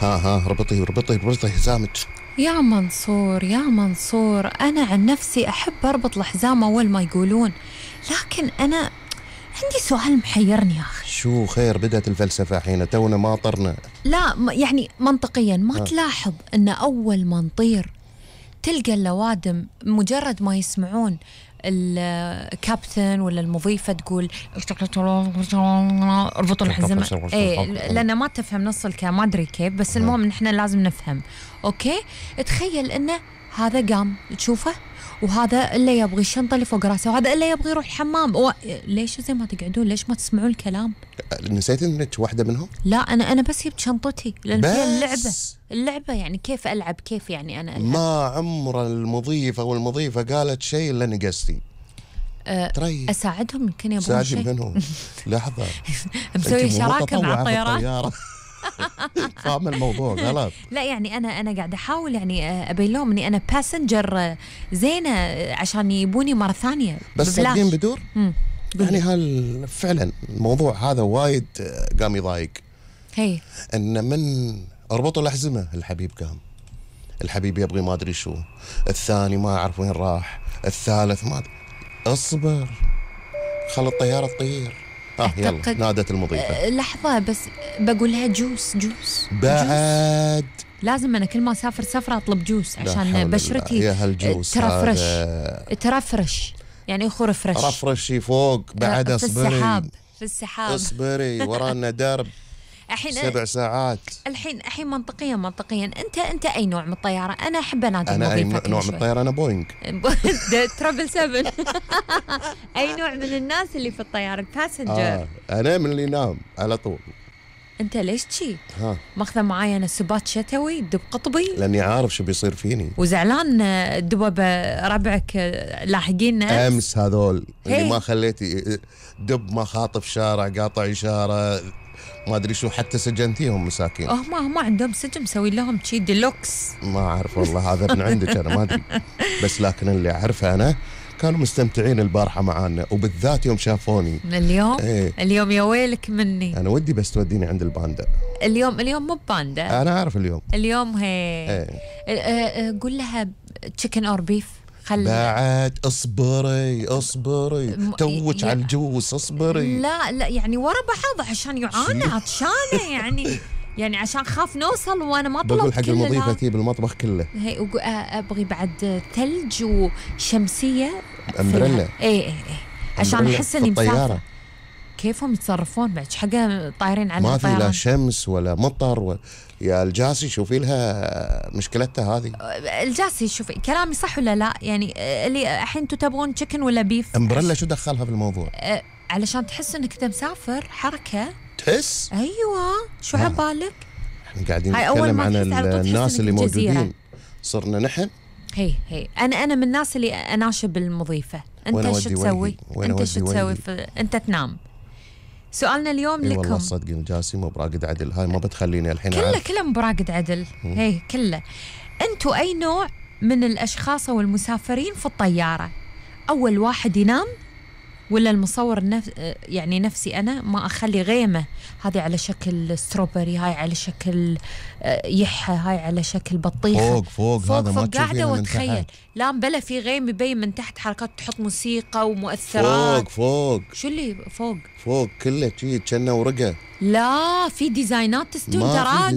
ها اربطي حزامك. يا منصور يا منصور، أنا عن نفسي أحب أربط الحزام أول ما يقولون، لكن أنا عندي سؤال محيرني يا أخي. شو خير؟ بدأت الفلسفة حين تونا ما طرنا. لا يعني منطقيا ما تلاحظ أن أول ما نطير تلقى اللوادم مجرد ما يسمعون الكابتن ولا المضيفة تقول اربطوا الحزمة، لأن ما تفهم نص الكلام، ما أدري كيف، بس المهم نحن لازم نفهم. أوكي، تخيل إنه هذا قام تشوفه، وهذا اللي يبغي الشنطة اللي فوق راسه، وهذا اللي يبغي يروح الحمام. ليش زي ما تقعدون؟ ليش ما تسمعون الكلام؟ نسيت إنك واحدة منهم؟ لا أنا بس جبت شنطتي لأن فيها اللعبة يعني كيف ألعب، كيف يعني أنا ألعب. ما عمر المضيفة والمضيفة قالت شيء إلا نقصتي. أساعدهم يمكن يبغون شيء. منهم. لحظة مسوي شراكة مع الطيران. فاهم الموضوع غلط. لا يعني أنا قاعدة أحاول يعني أبين لهم إني أنا باسنجر زينة عشان يبوني مرة ثانية. بس صدقين بدور يعني فعلا الموضوع هذا وايد قام يضايق. هي إن من اربطوا الأحزمة الحبيب قام، الحبيب يبغي ما أدري شو، الثاني ما أعرف وين راح، الثالث ما أدري. اصبر خل الطيارة تطير. يلا نادت المضيفة. لحظة بس بقول لها جوس بعد جوس. لازم أنا كل ما أسافر سفرة أطلب جوس عشان بشرتي ترفرش يعني رفرش. رفرشي فوق بعد. اصبري في السحاب اصبري ورانا درب 7 ساعات. الحين منطقيا انت اي نوع من الطياره؟ انا احب انادي انا اي نوع من الطياره؟ انا بوينغ ترابل 7. اي نوع من الناس اللي في الطياره؟ الباسنجر. انا من اللي ينام على طول. انت ليش شي ماخذه معايا انا سبات شتوي دب قطبي؟ لاني عارف شو بيصير فيني. وزعلان الدبب ربعك لاحقين امس هذول اللي ما خليتي دب ما خاطف شارع قاطع اشاره ما ادري شو، حتى سجنتيهم مساكين. ما عندهم سجن، مسوي لهم شي ديلوكس. ما اعرف والله، هذا من عندك انا ما ادري. بس لكن اللي اعرفه انا كانوا مستمتعين البارحه معانا، وبالذات يوم شافوني اليوم. اليوم يا ويلك مني، انا ودي بس توديني عند الباندا. اليوم مو باندا، انا عارف اليوم هي قول لها تشيكن اور بيف. بعد اصبري توج على الجوس. اصبري. لا يعني ورا بعض عشان يعانى عطشانه يعني عشان خاف نوصل وانا ما طلبت. بقول حق المضيفه تجيب المطبخ كله. هي ابغي بعد ثلج وشمسيه امبريلا. ايه عشان احس اني مسافره. كيفهم يتصرفون بعد حاجه طايرين على ما في لا شمس ولا مطر يا الجاسي شوفي لها مشكلتها هذه. الجاسي شوفي كلامي صح ولا لا؟ يعني اللي الحين انتم تبغون تشيكن ولا بيف؟ امبريلا شو دخلها في الموضوع؟ علشان تحس انك انت مسافر حركه. تحس؟ ايوه شو عبالك؟ احنا قاعدين نتكلم عن الناس اللي موجودين، صرنا نحن. هي انا من الناس اللي اناشب المضيفه. انت شو تسوي؟ انت شو تسوي؟ انت تنام. سؤالنا اليوم لكم. والله صدقني الجاسي مو براقد عدل، هاي ما بتخليني الحين كله براقد عدل. هي كله. انتوا اي نوع من الاشخاص او المسافرين في الطياره؟ اول واحد ينام ولا المصور يعني نفسي انا ما اخلي غيمه، هذه على شكل ستروبري، هاي على شكل يحة، هاي على شكل بطيخه فوق هذا ما قاعده واتخيل. لا بلا في غيم يبين من تحت حركات، تحط موسيقى ومؤثرات. فوق شو اللي فوق كله شيء كأنه ورقه. لا في ديزاينات تستوي تراقب.